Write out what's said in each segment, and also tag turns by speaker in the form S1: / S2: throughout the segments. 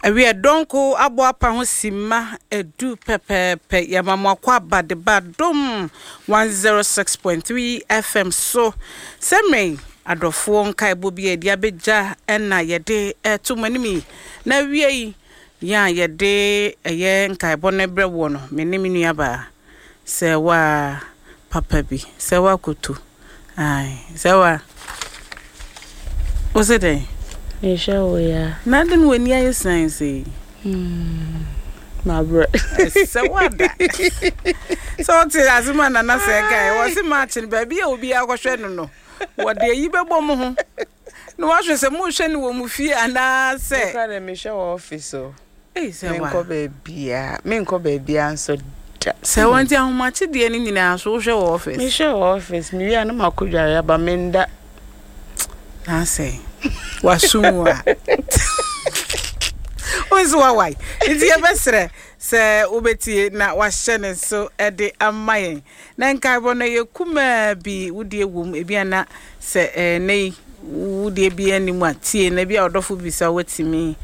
S1: Awiɛ Donko abɔ apa ho simma du pɛpɛɛpɛ. Yɛma mo akwaaba de ba Dom 106.3 FM so. Sɛ mmerɛ yi, adɔfoɔ nkaebɔ bi a yɛde abɛgya na yɛde reto mo anim yi. Na awie yi, yɛn a yɛde ɛyɛ nkaebɔ no rebrɛ woɔ no, me ne me nuabaa, Sɛwaa papa bi, Sɛwaa Koto. Ae, sɛ wa. Wo se dɛn?
S2: Mehwɛ wo ya.
S1: Na adɛn na w'ani ayɛ sian sei?
S2: Hmm, mabrɛ.
S1: Sɛ wada. Sɛ wote asɛm a Nana sɛ kae, wɔse March no baabi a obiara kɔhwɛ no no, wɔde ayi bɛbɔ mo ho. Na wahwɛ sɛ mohwɛ no wɔ mo fie anaasɛ.
S2: Me koraa deɛ mehwɛ wɔ office o.
S1: Ei sɛ wa.
S2: Menkɔ baabiara, menkɔ baabiara nso da.
S1: Sɛ wa nti ahomakye deɛ no nyinaa nso wohwɛ wɔ office?
S2: Mehwɛ wɔ office, mewie a na makɔ dware aba, menda.
S1: Na asɛ waso mu a. Wo nso wawae. Nti yɛbɛsrɛ sɛ wobɛtie na wahyɛ ne nso de ama yɛn. Na nkaebɔ no ɛyɛ kumaa bi, wo deɛ wom, ebia na sɛ ɛnnɛ yi wo deɛ biara nni mu a, tie na ebia ɔdɔfo bi bisa woatumi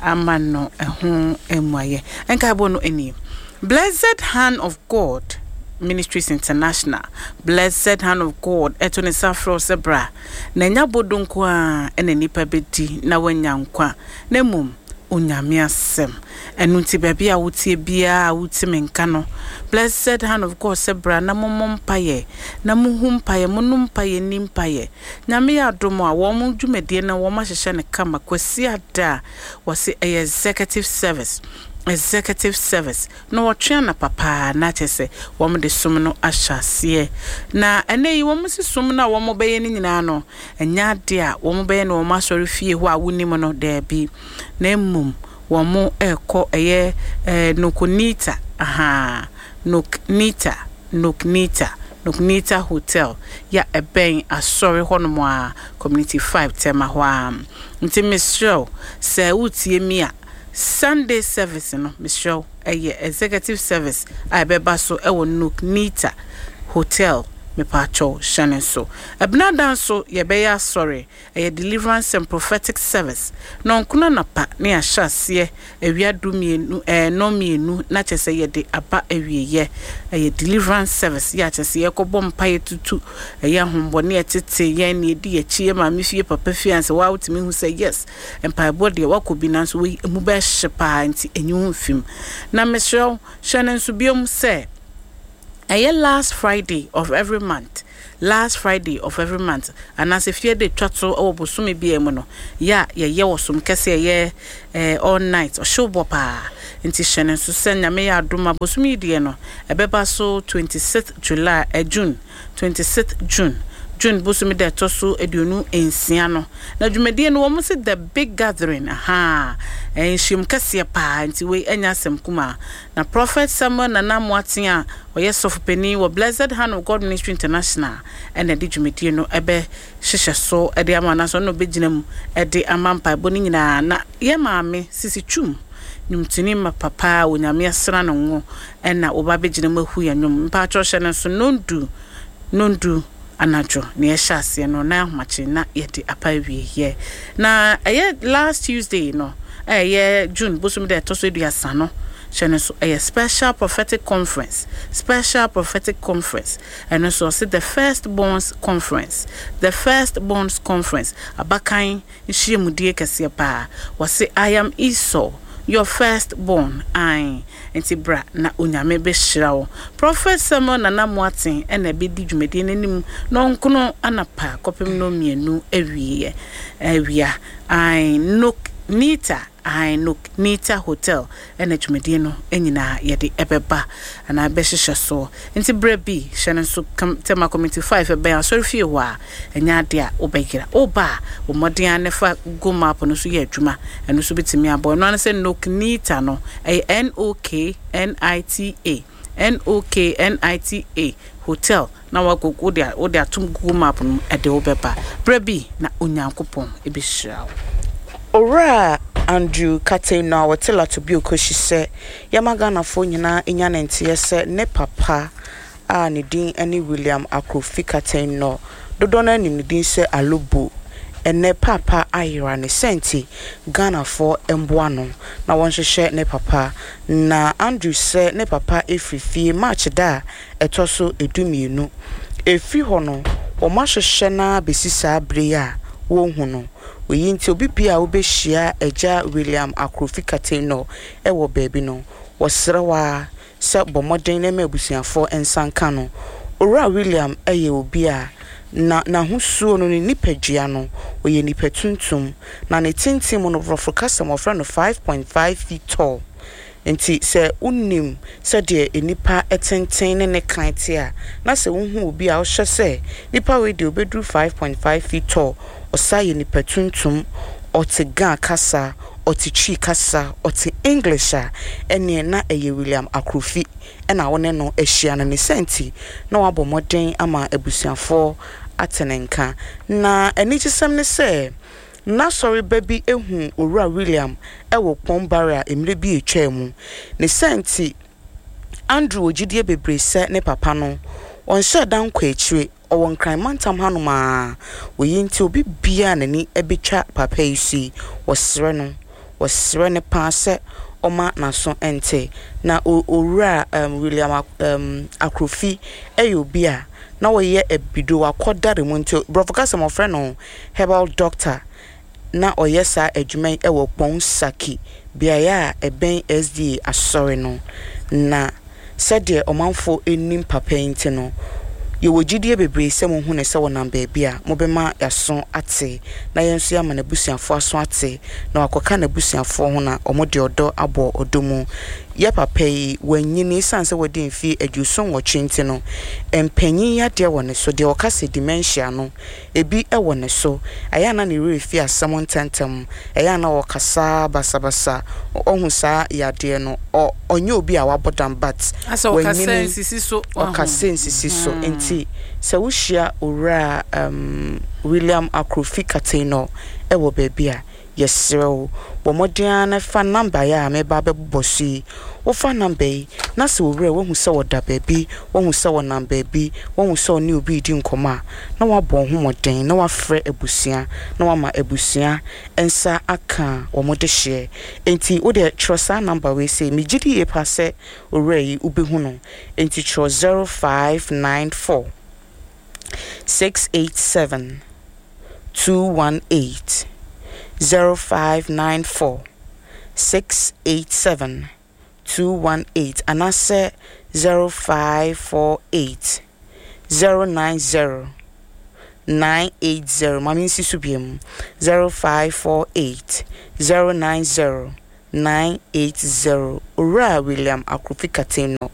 S1: ama no ɛho mmuaeɛ. Nkaebɔ no nie, Blessed Hand of God Ministries International, Blessed Hand of God ɛto ne nsa frɛ wo sɛ bra, na ɛnyɛ abodo nko ara na nnipa bɛdi na wɔanya nkwa, na mmom Onyame asɛm. Ɛno nti baabi a woteɛ biara a wote me nka no, Blessed Hand of God sɛ bra na mommɔ mpaeɛ, na mohu mpaeɛ, monom mpaeɛ, nni mpaeɛ. Nyame yɛ adom a, wɔn dwumadie no wɔn ahyehyɛ no kama. Kwasiada a, wɔse ɛyɛ Executive Service, Executive Service, na wɔtwe anapa paa na kyerɛ sɛ wɔn de som no ahyɛ aseɛ. Na ɛnɛ yi wɔn se som no a wɔn bɛyɛ no nyinaa no, ɛnyɛ adeɛ a wɔn bɛyɛ no wɔn asɔre fie hɔ a wonim no, daabi. Na mmom wɔrekɔ ɛyɛ eh, Nokonita, ahaa, Noknita, Noknita, Noknita Hotel, ya ɛbɛn asɔre hɔnom a, Community 5, Tema hɔ ara. Nti mesrɛ wo, sɛ woretie mi a, Sunday service no, mesrɛ wo, ɛyɛ executive service a ɛbɛba so wɔ Noknita Hotel, mepaakyɛw, hyɛ no nso. Ɛbenada nso, yɛbɛyɛ asɔre. Ɛyɛ Deliverance and Prophetic Service. Nnɔnkron anapa na yɛahyɛ aseɛ, awia du mmienu ɛɛ nnɔnmienu na kyerɛ sɛ yɛde aba awieɛ. Ɛyɛ Deliverance Service yɛ a kyerɛ sɛ yɛrekɔbɔ mpaeɛ tutu ɛyɛ ahombɔne a ɛtete yɛn na ɛdi yɛn akyi, yɛn maame fie, papa fie ansa waa wotumi hu sɛ yes mpaebɔ deɛ woakɔ bi nanso wei ɛmu bɛhye paa nti ɛnyi wo mfi mu. Na mesrɛ wo hyɛ no nso biom sɛ ɛyɛ last Friday of every month. Last Friday of every month, anaasɛ fie da etwa to wɔ bosome biara mu no, yɛ a yɛyɛ wɔ som kɛse a ɛyɛ eh, all night, ɔhyew bɔ paa. Nti hyɛ no nso sɛ Nyame yɛ adom a bosome yi deɛ no, ɛbɛba so 26th July, eh, June, 26th June, June bosome da ɛtɔ so 26 no. Na dwumadie no wɔn se The Big Gathering, ahaa, eh, nhyiam kɛseɛ paa, nti wei ɛnyɛ asɛm kumaa. Na Prɔfɛt Samuel Nana Amoateng a ɔyɛ sɔfo panin wɔ Blessed Hand of God Ministry International na ɛde dwumadie no bɛhyehyɛ so de ama anaasɛ ɔno na ɔbɛgyina mu de ama mpaebɔ no nyinaa. Na yɛn maame Sisi Twum, nnwomtoni mapa paa a Onyame asra no ngo na ɔba abɛgyina mu ahu yɛn nnwom. Mpakyɛw hyɛ no nso nnɔndu, nnɔndu anadwo na yɛhyɛ aseɛ no na ahomakye na yɛde aba awieɛ. Na ɛyɛ last Tuesday no a ɛyɛ June bosome da ɛtɔ so aduasa no hyɛ no nso ɛyɛ special prophetic conference, special prophetic conference, ɛno nso ɔse the first borns conference, the first borns conference, abakan nhyiamudie kɛseɛ paa. Wɔse I am Esau, your first born, ae, nti bra na Onyame bɛhyira wo. Prophet Samuel Nana Moateng na ɛbɛdi dwumadie no anim nɔnkono anapa kɔpem nɔnmienu awieɛ, awia, ae, Nok Nita, ae, Nok Nita Hotel na dwumadie no nyinaa yɛde ɛbɛba anaa ɛbɛhyehyɛ soɔ. Nti berɛ bi, hyɛ no nso kam, Tema Community 5 ɛbɛn asɔrefie hɔ a, ɛnyɛ adeɛ a wobɛyera. Woba a, bɔ mmɔden ara na fa Google Map no so yɛ adwuma. Ɛno nso bɛtumi aboa. Ɛno ara ne sɛ Noknita no, ɛyɛ N-O-K-N-I-T-A, N-O-K-N-I-T-A Hotel, na woakɔ, wode, wode ato Google Map no mu, ɛde wo bɛba. Berɛ bi na Onyankopɔn bɛhyira wo.
S2: Owura Andrew Katey no a ɔte Latobioko-Shi sɛ yɛma Ghanafoɔ nyinaa nya ne nteɛ sɛ ne papa a ne din ne William Akrofi Katey no, dodoɔ no ara nim ne din sɛ Alobo. Ɛnnɛ Paapa ayera ne sɛ nti Ghanafoɔ mboa no na wɔnhwehwɛ ne papa. Na Andrew sɛ ne papa firi fie March da a ɛtɔ so 12. Ɛfiri hɔ no wɔahwehwɛ no ara bɛsi saa berɛ yi a wɔnhu no. Wei nti obi biara a wobɛhyia Agya William Akrofi Kateinor wɔ baabi no, wɔsrɛ wo ara sɛ bɔ mmɔden na ma abusuafoɔ nsa nka no. Owura William yɛ obi a na n'ahosuo no, ne nipadua no, ɔyɛ nipa tuntum, na ne tenten mu no, borɔfo kasa mu wɔfrɛ no 5.5 feet tall. Nti sɛ wonim sɛdeɛ nnipa tenten ne ne kan te a, na sɛ wohu obi a wohyɛ sɛ nipa wei deɛ ɔbɛduru 5.5 feet tall, ɔsan yɛ nipa tuntum, ɔte Ga kasa, ɔte Twi kasa, ɔte English a, ɛneɛ na ɛyɛ William Akrofi na wo ne no ahyia no. Ne saa nti na wabɔ mmɔden ama abusuafoɔ ate ne nka. Na anigyesɛm ne sɛ, n'asɔreba bi huu Owura William wɔ Kpong Barrier mmerɛ bi a ɛtwaa mu. Ne saa nti, Andrew wɔ gyidie bebree sɛ ne papa no, ɔnhyɛɛ da nkɔɔ akyire. Ɔwɔ Nkran mantam hanom ara. Wei nti obi biara a n'ani bɛtwa papa yi so yi, wɔsrɛ no, wɔsrɛ no pa ara sɛ ɔmma n'aso nte. Na o Owura um, William um, Akrofi yɛ obi a na ɔyɛ abido, wakɔ dare mu nti borɔfo kasa mu wɔfrɛ no herbal doctor. Na ɔyɛ saa adwuma yi wɔ Kpong Saki, beaeɛ a ɛbɛn SDA asɔre no. Na sɛdeɛ ɔmanfoɔ nnim papa yi nti no, yɛwɔ gyidie bebree sɛ mohu no sɛ ɔnam baabi a, mobɛma yɛaso ate, na yɛn nso yɛama n'abusuafoɔ aso ate, na wakɔka n'abusuafoɔ ho na wɔde ɔdɔ abɔ ɔdɔ mu. Yɛ papa yi, wanyini, ɛsiane sɛ wadi mfeɛ 78 nti no, mpanyin yadeɛ wɔ ne so, deɛ wɔka sɛ dementia no, ebi wɔ ne so. Ɛyɛ a na ne werɛ fi asɛm ntɛmntɛm, ɛyɛ a na ɔkasa basabasa, ɔhu saa yadeɛ no, ɔ ɔnyɛ obi a wabɔ dam but
S1: Asɛ ɔkasa
S2: wanyini,
S1: nsisi so, wahu.
S2: ɔkasa nsisi so. Nti sɛ wohyia Owura um, William Akrofi Kateinor wɔ baabi a, Yɛsrɛ wo, bɔ mmɔden ara na fa nɔmba yi a mereba abɛbobɔ so yi. Wofa nɔmba yi, na sɛ wo werɛ, woahu sɛ ɔda baabi, woahu sɛ ɔnam baabi, woahu sɛ ɔne obi redi nkɔmmɔ a, na woabɔ wo ho mmɔden na woafrɛ abusua na woama abusua nsa aka wɔn dehyeɛ. Enti wo deɛ twerɛ saa nɔmba wei sei. Megye di yie paa sɛ owura yi wobɛhu no. Enti twerɛ 0594 687 218 0594 687 218 anaasɛ 0548 090 980. Ma mensi so biom 0548 090 980 Owura William Akrofi Kateng no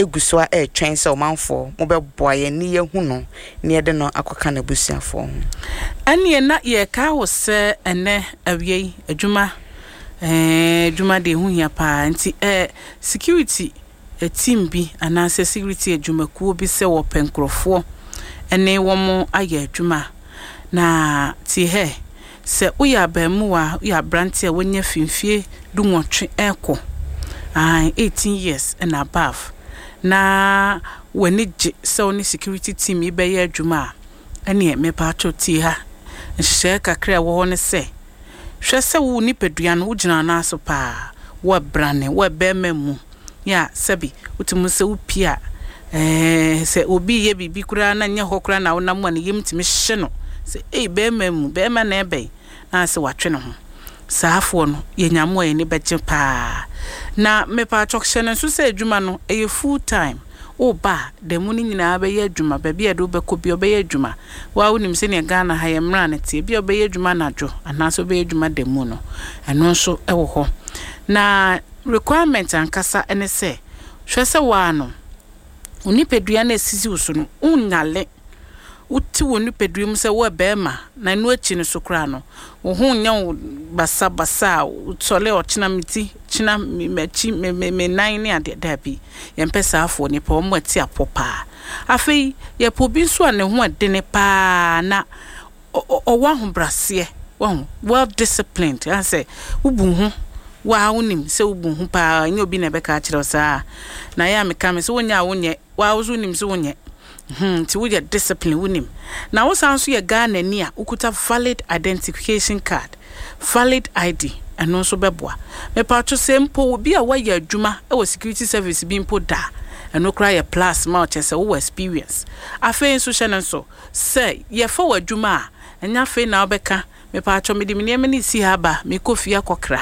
S2: gu so ara retwɛn sɛ ɔmanfoɔ mobɛboa yɛn ne yɛahu no na yɛde no akɔka n'abusuafoɔ ho.
S1: Ɛneɛ na yɛrekae wo sɛ ɛnɛ awia yi adwuma eh, adwuma deɛ ɛho hia paa nti eh, security team bi anaasɛ security adwumakuo bi sɛ wɔpɛ nkorɔfoɔ ne wɔn ayɛ adwuma na tie hɛ Sɛ woyɛ abarimuwa, woyɛ aberante a wanya fi mfeɛ dunwɔtwe rekɔ, aane, 18 years and above, na w'ani gye sɛ wo ne security team yi bɛyɛ adwuma a, ɛneɛ mepaatwɔ tie ha. Nhyehyɛeɛ kakra a ɛwɔ hɔ ne sɛ, hwɛ sɛ wo nipadua no wogyina wo nan so paa, woabrane, woabɛrima mu, yɛ a sɛbi wotumi hu sɛ wopie a, ɛɛ sɛ obi reyɛ biribi koraa na nyɛ hɔ koraa na wonam a ne yam tumi hye no sɛ ei bɛrima mu, bɛrima na ɛbɛn na asɛ watwe ne ho. Saafoɔ no yɛnya mo a yɛn ani bɛgye paa. Na mepatwɔ hyɛ no nso sɛ adwuma no ɛyɛ full time. Woba a, da mu no nyinaa bɛyɛ adwuma, baabi a yɛde wo bɛkɔ biara wobɛyɛ adwuma. Wo ara wonim sɛdeɛ Ghana ha yɛn mmara no teɛ, ebia wobɛyɛ adwuma anadwo anaasɛ wobɛyɛ adwuma da mu no, ɛno nso wɔ hɔ. Na requirement ankasa ne sɛ, hwɛ sɛ wo ara no, wo nipadua no a ɛsisi wo so no, wonyale. Wote wo nipadua mu sɛ woyɛ barima, na ɛno akyi no so koraa no, wo ho nyɛ wo basabasa a wosɔre a ɔkyena me ti, kyena m'akyi, me me me nan ne adeɛ. Daabi, yɛmpɛ saa afoɔ no, yɛpɛ wɔn a ɛte apɔ paa. Afei, yɛpɛ obi nso a ne ho ɛdene paa na ɔwɔ ahobraseɛ, wahu, well disciplined, ayɛ sɛ wobu wo ho, wo ara wonim sɛ wobu wo ho paa, ɛnyɛ obi na ɛbɛka akyerɛ wo saa. Na ɛyɛ a meka me sɛ wonyɛ a wonyɛ, wo ara nso wonim sɛ wonyɛ. Hmm, nti woyɛ discipline, wonim. Na wo san nso yɛ Ghanani a wokuta valid identification card, valid ID, ɛno nso bɛboa. Mepatwo sɛ mpo obi a wayɛ adwuma wɔ security service bi mpo da a, ɛno koraa yɛ plus ma wo, kyerɛ sɛ wowɔ experience. Afei nso hyɛ no nso sɛ yɛfa wo adwuma a, ɛnyɛ afei na wobɛka Mepatwɔ mede me nneɛma no resi ha aba, merekɔ fie akɔkra.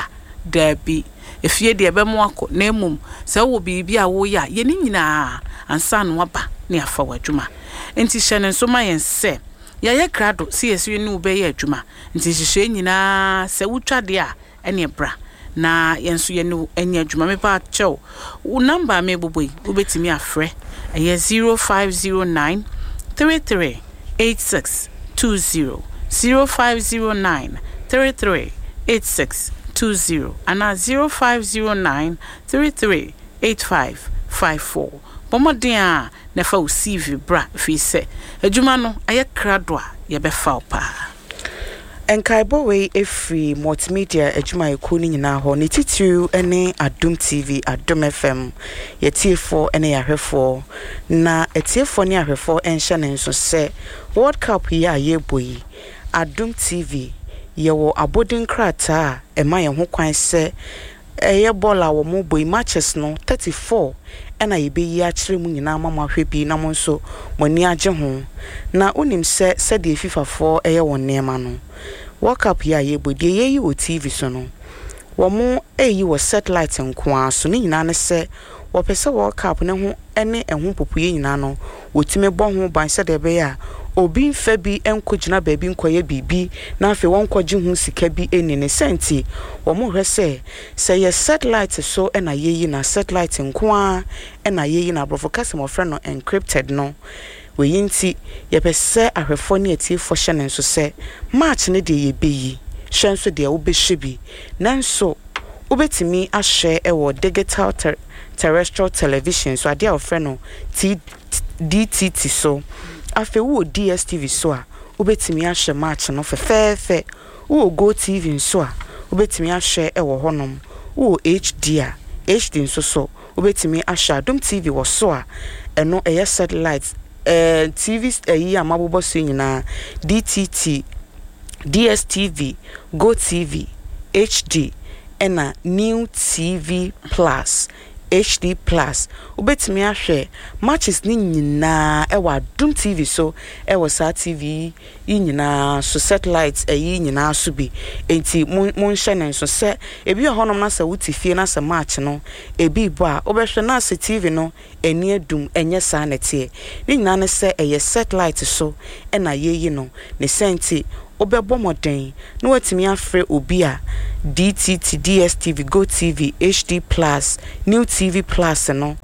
S1: Daabi. Efie deɛ ɛbɛmo akɔ, na mmom sɛ wowɔ biribi a woreyɛ a, yɛ ne nyinaa ansa na woaba na yɛafa wo adwuma. Enti hyɛ no nso ma yɛn sɛ yɛayɛ krado sɛ yɛse yɛne wo bɛyɛ adwuma. Nti nhyehyɛe nyinaa sɛ wotwa deɛ a, ɛneɛ bra na yɛn nso yɛne wo nyɛ adwuma. Mepakyɛw, wo number a merebobɔ yi, wobɛtumi afrɛ. Ɛyɛ 0509 33 86 20, 0509 33 86 20 anaa 0509 33 85 54. Bɔ mmɔden a na fa wo CV bra ɛfiri sɛ adwuma no ayɛ krado a yɛbɛfa wo paa.
S2: Nkaebɔ wei firi Multimedia adwumayɛkuo no nyinaa hɔ, ne titiriw ne Adom TV, Adom FM, yɛatiefoɔ ne yɛahwɛfoɔ. Na atiefoɔ ne ahwɛfoɔ nhyɛ no nso sɛ World Cup yi a yɛrebɔ yi, Adom TV, yɛwɔ abɔdin krataa a ɛma yɛn ho kwan sɛ Ɛyɛ bɔɔl a wɔbɔ yi, matches no, 34 na yɛbɛyi akyerɛ mo nyinaa ama moahwɛ bi na mo nso mo ani agye ho. Na wonim sɛ sɛdeɛ FIFA foɔ yɛ wɔn nneɛma no, World Cup yi a yɛrebɔ yi, deɛ yɛreyi wɔ TV so no, wɔreyi wɔ satellite nko ara so. Ne nyinaa ne sɛ wɔpɛ sɛ World Cup no ho ne ɛho mpopoeɛ nyinaa no, wɔtumi bɔ ho ban sɛdeɛ ɛbɛyɛ a obi mfa bi nkɔgyina baabi nkɔyɛ biribi na afei wɔnkɔgye ho sika bi nni. Ne saa nti, wɔhwɛ sɛ, sɛ ɛyɛ sɛtelaete so na yɛyi no a, sɛtelaete nko ara na yɛyi no, aborɔfo kasa mu wɔfrɛ no encrypted no. Wei nti, yɛpɛ sɛ ahwɛfoɔ ne atiefoɔ hyɛ no nso sɛ, March no deɛ yɛbɛyi, hwɛ nso deɛ wobɛhwɛ bi. Nanso, wobɛtumi ahwɛ wɔ digital terrestrial television so, adeɛ a wɔfrɛ no DTT so. Afei wowɔ DSTV so a, wobɛtumi ahwɛ match no fɛfɛɛfɛ. Wowɔ GoTv nso a, wobɛtumi ahwɛ wɔ hɔnom. Wowɔ HD a, HD nso so, wobɛtumi ahwɛ. Adom TV wɔ so a, ɛno ɛyɛ satellite. Ɛɛ TV ayi a mabobɔ so yi nyinaa, DTT, DSTV, GoTv, HD, ɛna New TV Plus, HD Plus. Wobɛtumi ahwɛ matches no nyinaa ɛwɔ Adom TV so ɛwɔ saa TV yi nyinaa so, satellite ɛyi nyinaa so bi. Enti mo monhyɛ no nso sɛ ebi wɔ hɔnom na sɛ wote fie na sɛ match no ebi rebɔ a, wobɛhwɛ na sɛ TV no ani adum, ɛnyɛ saa na ɛteɛ. Ne nyinaa ne sɛ ɛyɛ satellite so na yɛyi no. Ne saa nti, wobɛbɔ mmɔden na woatumi afrɛ obi a DTT, DSTV, GoTv, HD Plus, New TV Plus no,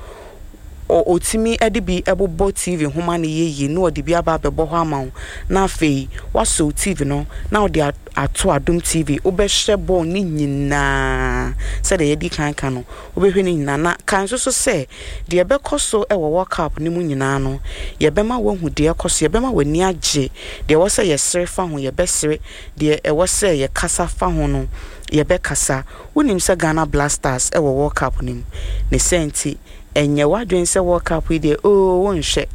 S2: ɔ, ɔtumi de bi bobɔ TV ho ma no yɛ yie na ɔde bi aba abɛbɔ hɔ ama wo, na afei woasɔ wo TV no na wode a, ato Adom TV. Wobɛhwɛ bɔɔl no nyinaa sɛdeɛ yɛadi kan aka no. Wobɛhwɛ ne nyinaa. Na kae nso so sɛ, deɛ ɛbɛkɔ so wɔ World Cup no mu nyinaa no, yɛbɛma woahu deɛ ɛrekɔ so, yɛbɛma w'ani agye. Deɛ ɛwɔ sɛ yɛsere fa ho, yɛbɛsere. Deɛ ɛwɔ sɛ yɛkasa fa ho no, yɛbɛkasa. Wonim sɛ Ghana Black Stars wɔ World Cup no mu. Ne saa nti, ɛnyɛ w'adwene sɛ World Cup yi deɛ, oo, wonhwɛ.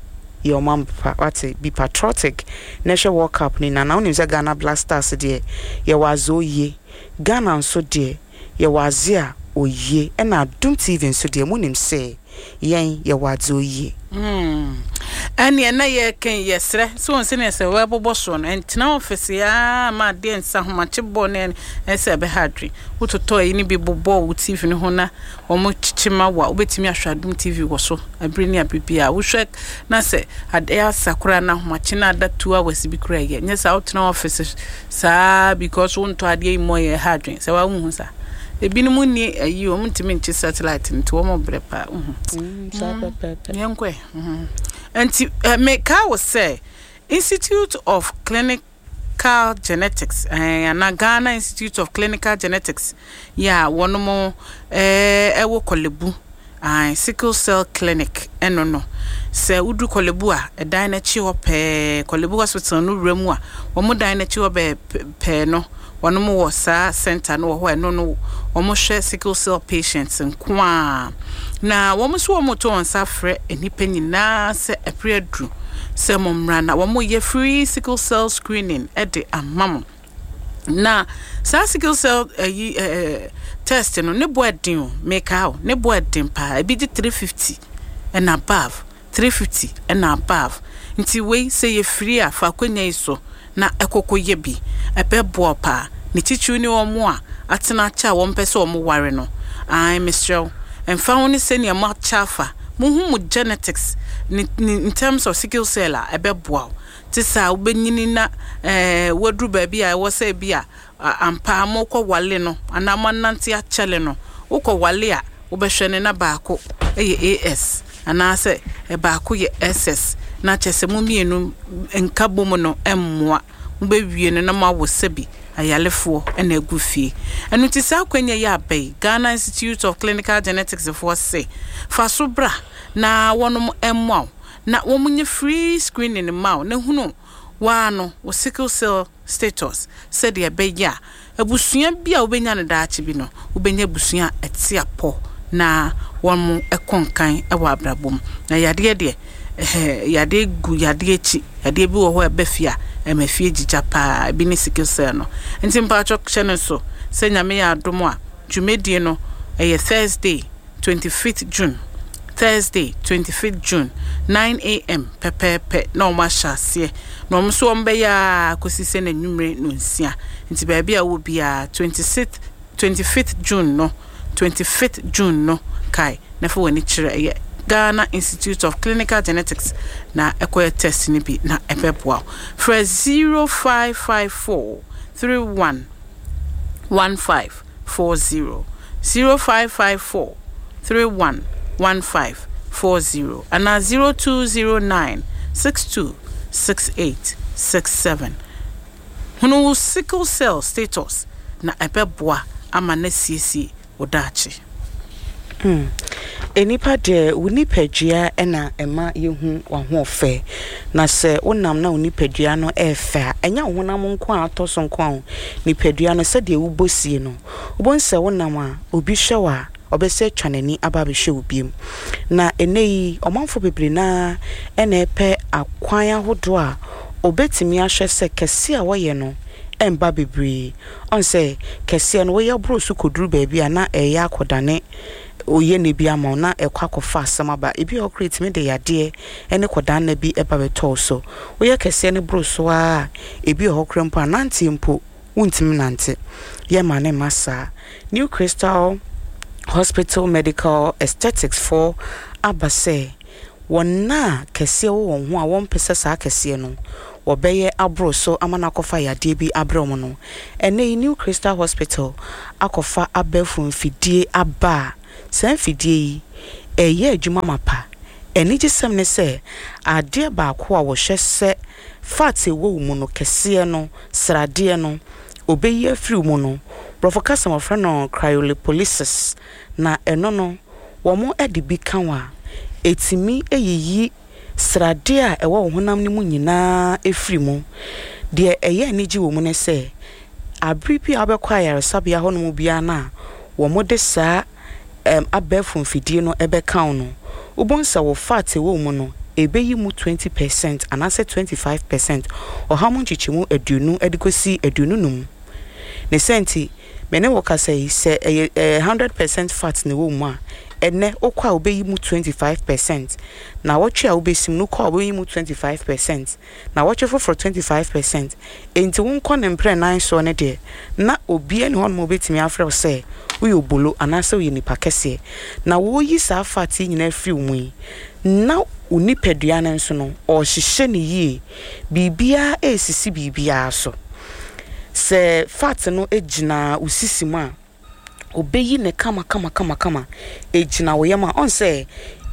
S2: Yɛ ɔman pa, woate? Be patriotic na hwɛ World Cup no nyinaa. Na wonim sɛ Ghana Black Stars deɛ, yɛwɔ adze oye. Ghana nso deɛ, Yɛwɔ adze a oye ɛna Adom TV nso deɛ monim sɛ yɛn yɛwɔ adze oye.
S1: Hmm ɛneɛ na yɛreka yi yɛsrɛ sɛ wɔn sɛdeɛ sɛ wɔbobɔ soɔ no ɛntena ɔfese aa ma adeɛ nsa ahomakye bɔ ne ɛsɛ ɛbɛha adwene wototɔ ayi no bi bobɔ wo TV no ho na wɔn kyekye ma wo a wobɛtumi ahwɛ Adom TV wɔ so abere ne abere biara wohwɛ na sɛ adeɛ asa koraa na ahomakye no ada 2 hours bi koraa yɛ nyɛ saa wotena ɔfese Saa because wo ntɔ adeɛ yi mmɔ yɛ ɛha adwen sɛ wa wohu sa ebinom nni ayi wɔn ntumi nkye satellite nti wɔn brɛ paa wohu.
S2: Mm, saa mm. pɛpɛpɛ.
S1: Yɛn kɔ ɛ. Nti eh, meka wo sɛ Institute of Clinical Genetics eh, ana Ghana Institute of Clinical Genetics yɛ a wɔnom eh, ɛwɔ Korle-Bu. Ae, Sickle Cell Clinic ɛno no. Sɛ wodu Korle Bu a, ɛdan no akyi hɔ pɛɛ, Korle Bu Hospital no wura mu a, wɔn dan no akyi hɔ bɛɛ pɛɛ no, wɔnom wɔ saa center no wɔ hɔ a ɛno no wɔhwɛ sickle cell patients nko ara. Na wɔn nso wɔreto wɔn nsa afrɛ nnipa nyinaa sɛ ɛbere aduru. sɛ mo mmra na wɔn yɛ free sickle cell screening de ama mo. Na saa sickle cell ayi eh, eh, test no ne bo ɛden o, meka o, ne bo ɛden paa. Ebi gye 350 and above, 350 and above. Nti wei sɛ yɛ free a, fa akwanya yi so na ɛkɔkɔ yɛ bi. Ɛbɛboa wo paa. Ne titiriw ne wɔn a atena akyɛ a wɔmpɛ sɛ wɔn ware no. Ae, mesrɛ wo, ɛmfa ho ne sɛnea moakyɛ afa, mohu mo genetics ne, ne in terms of sickle cell a, ɛbɛboa wo. Te saa a, wobɛnyini na ɛɛ woaduru baabi a ɛwɔ sɛ bi a ampa mokɔ wale no anaa moanante akyɛle no. Wokɔ wale a, wobɛhwɛ no na baako yɛ AS anaasɛ baako yɛ SS na kyerɛ sɛ mo mmienu nkabom no mmoa. Mobɛwie no na moawo sɛbi ayalefoɔ na agu fie. Ɛno nti saa akwanya yi aba yi, Ghana Institute of Clinical Genetics foɔ se, fa so bra na wɔnom mmoa wo. Na wɔn nyɛ free screening mma wo na hunu woara no wo sickle cell status sɛdeɛ ɛbɛyɛ a abusua bi a wobɛnya no daakye bi no wobɛnya abusua a ɛte apɔ na wɔn kɔ nkan wɔ abrabɔ mu. Na yadeɛ deɛ ɛhɛ yadeɛ gu yadeɛ akyi, yadeɛ bi wɔ hɔ a ɛba fie a ɛma fie gyigya paa, ebi ne sickle cell no. Nti mpakyɛ hyɛ no nso sɛ Nyame yɛ adom a dwumadie no ɛyɛ Thursday 25th June, Thursday, 25th June, 9am pɛpɛɛpɛ na wɔn ahyɛ aseɛ. Na wɔn nso wɔn bɛyɛ ara kɔsi sɛ n'anwummere nonsia. Nti baabi a wowɔ biara, 26th, 25th June no, 25th June no, kae na fa w'ani kyerɛ ɛyɛ Ghana Institute of Clinical Genetics na ɛkɔyɛ test no bi na ɛbɛboa wo. Frɛ 0554 31 15 40 0554 31 15 40 anaa 0209 62 68 67. Hunu wo sickle cell status na ɛbɛboa ama no asiesie wo daakye.
S2: Hmm. Nnipa deɛ, wo nipadua na ɛma yɛhu w'ahoɔfɛ. Na sɛ wonam na wo nipadua no yɛ fɛ a, ɛnyɛ wo honam nko a atɔ so nko ara o. Nipadua no, sɛdeɛ wobɔ sie no, wobɛhu sɛ wonam a, obi hwɛ wo a, ɔbɛsan atwa n'ani aba abɛhwɛ wo bio. Na ɛnnɛ yi, ɔmanfoɔ bebree no ara na ɛrepɛ akwan ahodoɔ a wɔbɛtumi ahwɛ sɛ kɛseɛ a wɔyɛ no mma bebree. Ɔn sɛ, kɛseɛ no, woyɛ boro so kɔduru baabi a na ɛreyɛ akɔdane oyiani bi ama wo na ɛkɔ akɔfa asɛm aba. Ebi wɔ hɔ koraa ɛtumi de yadeɛ ne kɔdaanna bi ba bɛtɔ wo so. Woyɛ kɛseɛ no boro so ara a, ebi wɔ hɔ koraa mpo a, nanteɛ mpo wontumi nnante. Yɛmma no mma saa. New Crystal Hospital Medical Aesthetics foɔ aba sɛ wɔn a kɛseɛ wɔ wɔn ho a wɔmpɛ sɛ saa kɛseɛ no wɔbɛyɛ aboro so ama no akɔfa yadeɛ bi abrɛ wɔn no, ɛnnɛ yi New Crystal Hospital akɔfa abɛɛfo mfidie aba a saa mfidie yi ɛreyɛ adwuma mapa. Anigyesɛm ne sɛ adeɛ baako a wɔhwɛ sɛ fat a ɛwɔ wo mu no kɛseɛ no, sradeɛ no, wɔbɛyi afiri wo mu no, borɔfo kasa mu wɔfrɛ no cryolipolysis, na ɛno no wɔde bi ka wo a, ɛtumi yiyi sradeɛ a ɛwɔ wo honam no mu nyinaa firi mu. Deɛ ɛyɛ anigye wɔ mu ne sɛ, abere bi a wobɛkɔ ayaresabea hɔnom biara no a wɔde saa ɛm abɛɛfo mfidie no bɛka wo no, wobɛhu sɛ wo fat a ɛwɔ wo mu no, ɛbɛyi mu 20 percent anaasɛ 25%, ɔha mu nkyekyɛmu 20 de kɔsi 25. Ne saa nti, Me ne wo kasa yi, sɛ ɛyɛ ɛyɛ 100% fat na ɛwɔ wo mu a, ɛnnɛ wokɔ a wobɛyi mu 25%, naawɔtwe a wobɛsi mu no wokɔ a wobɛyi mu 25%, naawɔtwe foforɔ 25%. Enti wonkɔ no mprɛ nan soɔ no deɛ, na obiara nni hɔnom a ɔbɛtumi afrɛ wo sɛ woyɛ obolo anaasɛ woyɛ nipa kɛseɛ. Na wɔreyi saa fat yi nyinaa afiri wo mu yi, na wo nipadua no nso no, ɔrehyehyɛ no yie. Biribiara resisi biribiara so. Sɛ fat no gyina wo sisi mu a, obeyi no kamakamakamakama. Egyina wo yam a, ɔn sɛ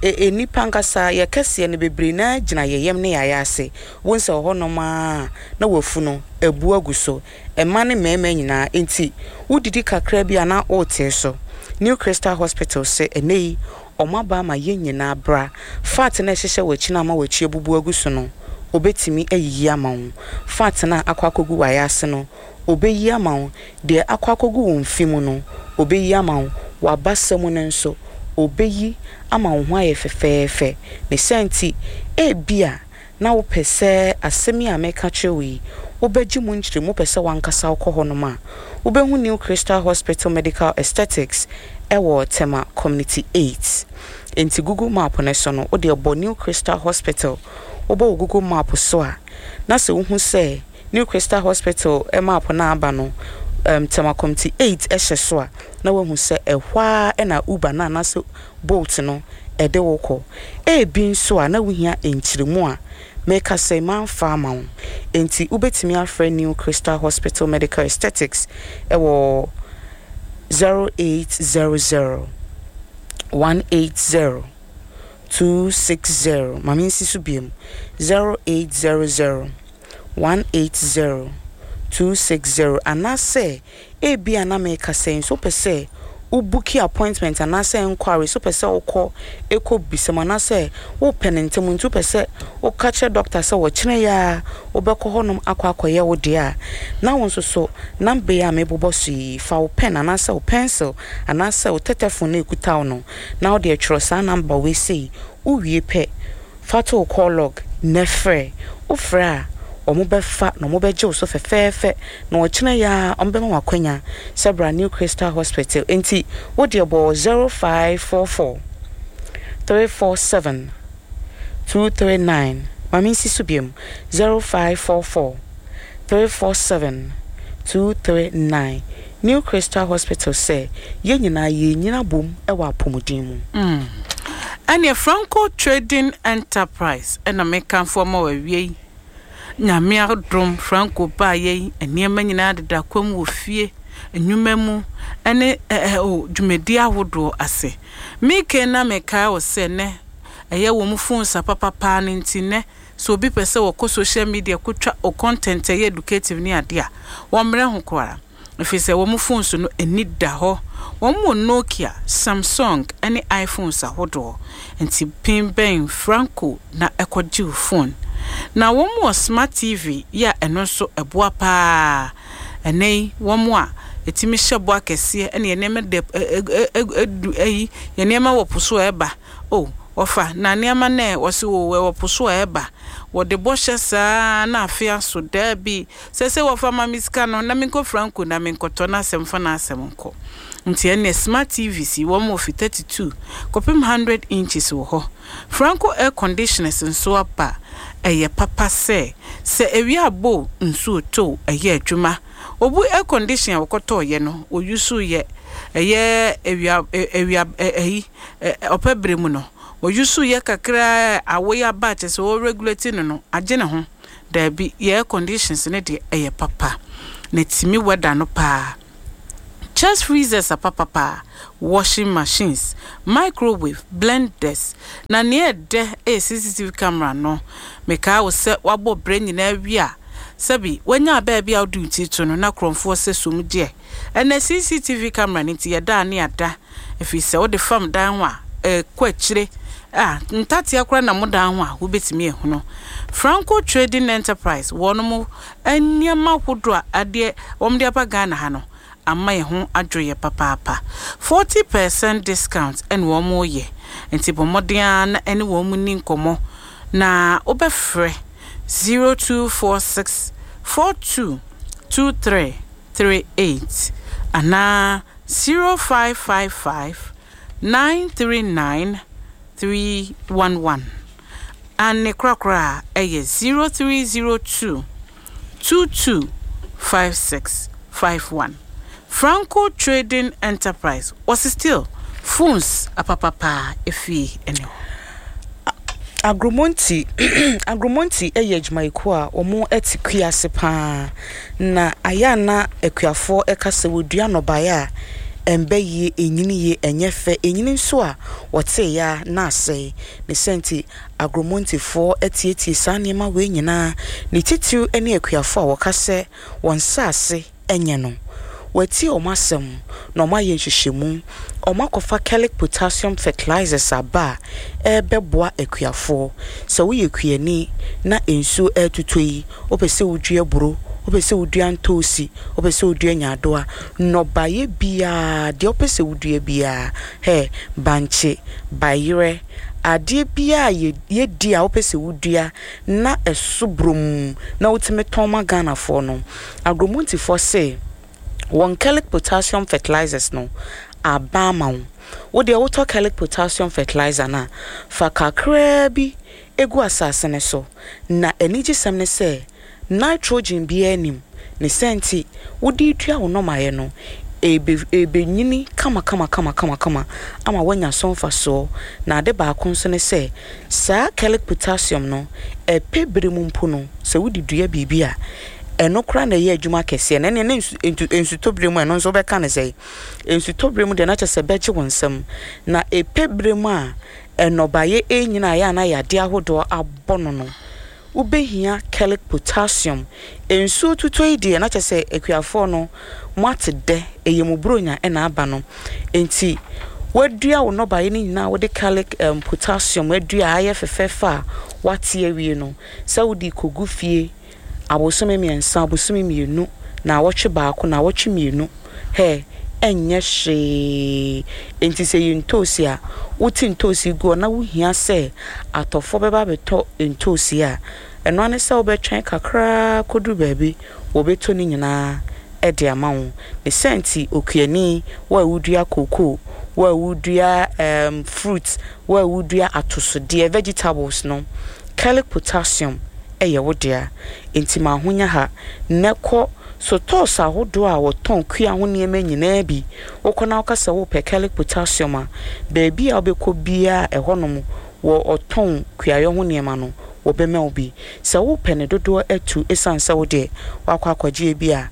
S2: nnipa ankasa yɛ kɛseɛ no bebree no ara gyina yɛn yam ne yɛn ayaase. Wohu sɛ wɔ hɔnom ara na wafu no abu agu so. Mmaa ne mmarima nyinaa. Enti wodidi kakra bi a na woretee so. New Crystal Hospital se ɛnnɛ yi wɔaba ama yɛn nyinaa bra. Fat no a ɛhyehyɛ w'akyi no ama w'akyi abubu agu so no, obetumi ayiyi ama wo. Fat no a akɔ akɔgu w'ayaase no, obeyi ama wo. Deɛ akɔ akɔgu wo mfe mu no, obeyi ama wo. W'abasa mu no nso, obeyi ama wo ho ayɛ fɛfɛɛfɛ. Ne saa nti, ebia. na wopɛ sɛ asɛm yi a mereka kyerɛ wo yi, wobɛgye mu nkyerɛmu, wopɛ sɛ w'ankasa wokɔ hɔnom a, wobɛhu New Crystal Hospital Medical Aesthetics wɔ Tema Community 8. Enti Google Map no so no, wo deɛ bɔ New Crystal Hospital, wobɔ wɔ Google Map so a, na sɛ wohu sɛ New Crystal Hospital map no a aba no, um, Tema Community 8 hyɛ so a, na woahu sɛ ɛhɔ ara na Uber no anaasɛ Bolt no de wo kɔ. Ebi nso a na wuhia nkyerɛmu a meka sɛ mamfa ama wo. Enti wubetumi afrɛ New Crystal Hospital Medical Aesthetics wɔ 0800 180 260. Ma minsi so bio, 0800 180 260 anaasɛ Ebia na meka sɛ nso wopɛ sɛ wo booki appointment anaasɛ enquiry, sɛ wopɛ sɛ wokɔ kɔ bisa mu anaasɛ wopɛ no ntɛm nti wopɛ sɛ woka kyerɛ doctor sɛ ɔkyena yi ara wobɛkɔ hɔnom akɔ akɔyɛ wo deɛ a, na wo nso so number yi a mebobɔ so yi, fa wo pen anaasɛ wo pencil anaasɛ wo tɛtɛfon no a ɛkuta wo no na wode twerɛ saa number wei sei, wowie pɛ Fa to wo call log na frɛ. Wofrɛ a, wɔbɛfa na wɔbɛgye wo so fɛfɛɛfɛ na ɔkyena yi ara wɔbɛma wo akwanya sɛ bra New Crystal Hospital. Enti wo deɛ bɔ 0544 347 239. Ma mensi so biom, 0544 347 239. New Crystal Hospital sɛ yɛn nyinaa yɛnyini abom wɔ apɔmuden mu.
S1: Mm. Ɛneɛ Franco Trading Enterprise na mekamfo ama wo awie yi. Nyame adom Franco baayɛ yi nneɛma nyinaa deda kwam wɔ fie, nnwuma mu ne eh, oh, dwumadi ahodoɔ ase. Meke na mekae wo sɛ nɛ ɛyɛ wɔn phones apapa paa no nti nɛ Sɛ obi pɛ sɛ ɔkɔ social media kotwa o content a ɛyɛ educative ne ade a, wɔmmrɛ ho koraa. Ɛfiri sɛ wɔn phones no ani da hɔ. Wɔn wɔ Nokia, Samsung ne iPhones ahodoɔ. Nti pin bɛn Franco na kɔgye wo phone. Na wɔn wɔ smart TV yi a ɛno nso ɛboa pa ara. Ɛnnɛ yi wɔn a ɛtumi hyɛ bɔ akɛseɛ ne yɛn nneɛma da ɛ ɛ ayi yɛn nneɛma wɔ po so a ɛba. O, wɔfa, na nneɛma no ɛ? Wɔse, O, ɛwɔ po so a ɛba. Wɔde bɔhyɛ saa ara na afe aso. Daabi. Seesei wɔfa, ma me sika no na menkɔ Franco na menkɔtɔ na asɛm fa n'asɛm nkɔ. Nti ɛnneɛ smart TVs yi, wɔn wɔ fi 32 kɔpem 100 inches wɔ hɔ. Franco air conditioners nso aba. Ɛyɛ papa sɛ, sɛ awia abɔ o, nsuo retɔ o, ɛyɛ adwuma. Obu air condition a wɔkɔtɔeɛ no, wɔyusuiɛ, ɛyɛ awia, awia, ayi, ɔpɛ berɛ mu no, wɔyusuiɛ kakra a awo yi aba a kyerɛ sɛ wɔ regulate no no, agye ne ho. Daabi, yɛ air conditions no deɛ ɛyɛ papa, na ɛtumi weather no paa. Chest freezers apapapa, washing machines, microwave, blenders, na nea ɛdɛ yɛ CCTV camera no. Mekaa wo sɛ woabɔ brɛ nyinaa awie a, sɛbi woanya baabi a wode wo ti to no na korɔmfoɔ sɛ sum deɛ. Ɛnnɛ CCTV camera no nti yɛda a ne yɛada, ɛfiri sɛ wode fam dan ho a, ɛkɔ akyire a, ntatea koraa na mo dan ho a wobɛtumi ahunu. Franco Trading Enterprise wɔnom nneɛma ahodoɔ a adeɛ wɔde aba Ghana ha no ama yɛn ho adwo yɛ papaapa. 40% discount na wɔreyɛ nti bɔ mmɔden ara na ɛne wɔn nni nkɔmmɔ na wobɛfrɛ 0246 42 23 38 anaa 0555 939 311. Aane korakora a ɛyɛ 0302 22 56 51. Franco Trading Enterprise wɔse still phones apapapaa efie ɛne hɔ.
S2: Agromonti Agromonti yɛ adwumayɛkuo a wɔte kua ase pa ara, na ayɛ a na akuafoɔ ka sɛ wɔdua nnɔbaeɛ a ɛmba yie, ɛnyini yie, ɛnyɛ fɛ, ɛnyini nso a wɔteeɛ ara na asɛe. Ne saa nti, Agromontifoɔ atietie saa nneɛma wei nyinaa, ne titiriw ne akuafoɔ a wɔka sɛ wɔn nsase nyɛ no. Wɔatie wɔn asɛm na wɔayɛ nhwehwɛmu. Wɔakɔfa Kellic Potassium Fertilizers aba a ɛrebɛboa akuafoɔ. Sɛ woyɛ kuani na nsuo retotɔ yi, wopɛ sɛ wodua aburo, wopɛ sɛ wodua ntoosi, wopɛ sɛ wodua nyaadoa, nnɔbaeɛ biara, deɛ wopɛ sɛ wodua biara, hɛ, bankye, bayerɛ, Adeɛ biara a yɛdi a wopɛ sɛ wodua na ɛso bromm na wotumi tɔn ma Ghanafoɔ no, Agromontifoɔ se wɔn Kelic Potassium Fertilizers no aba ama wo. Wo deɛ wotɔ Kelic Potassium Fertilizer no a, fa kakraa bi gu asase no so. Na anigyesɛm ne sɛ, nitrogen biara nnim, ne saa nti wode redua wo nnɔmaeɛ no, ɛrebe ɛrebɛnyini kamakamakamakama ama woanya so mfasoɔ. Na ade baako nso ne sɛ, saa Kelic potassium no, ɛpɛ berɛ mu mpo no, sɛ wode dua biribi a, ɛno koraa na ɛyɛ adwuma kɛseɛ. Na ɛnneɛ na nsu ntu nsutɔ berɛ mu a, ɛno nso wobɛka no sɛn? Nsutɔ berɛ mu deɛ na kyerɛ sɛ ɛbɛgye wo nsam. Na ɛpɛ berɛ mu a nnɔbaeɛ renyini a ɛyɛ a na yadeɛ ahodoɔ abɔ no no, wobɛhia Kelic potassium. Nsuo tutɔ yi deɛ na kyerɛ sɛ akuafoɔ no moate dɛ, ɛyɛ mo buronya na aba no. Enti woadua wo nnɔbaeɛ no nyinaa a wode Kelic um, potassium adua a ayɛ fɛfɛɛfɛ a woate awie no, sɛ wode rekɔgu fie abosome mmiɛnsa, abosome mmienu, naawɔtwe baako, naawɔtwe mmienu, hɛ, ɛnyɛ hwee. Enti sɛ ɛyɛ ntoosi a, wote ntoosi gu hɔ na wohia sɛ atɔfoɔ bɛba abɛtɔ ntoosi a, ɛno ara ne sɛ wobɛtwɛn kakra kɔduru baabi, wɔbɛtɔ ne nyinaa de ama wo. Ne saa nti, okuani, wo a wodua kookoo, wo a wodua um, fruit, wo a wodua atosodeɛ, vegetables no, Kalic potassium yɛ wo dea. Enti ma ahonya ha na kɔ sotɔɔs ahodoɔ a wɔtɔn kua ho nneɛma nyinaa bi. Wokɔ na woka sɛ wopɛ Kalic potassium a, baabi a wobɛkɔ biara a ɛhɔnom wɔ ɔtɔn kuayɔ ho nneɛma no, wɔbɛma wo bi. Sɛ wopɛ ne dodoɔ atu ɛsiane sɛ wo deɛ woakɔ akɔgye ebi a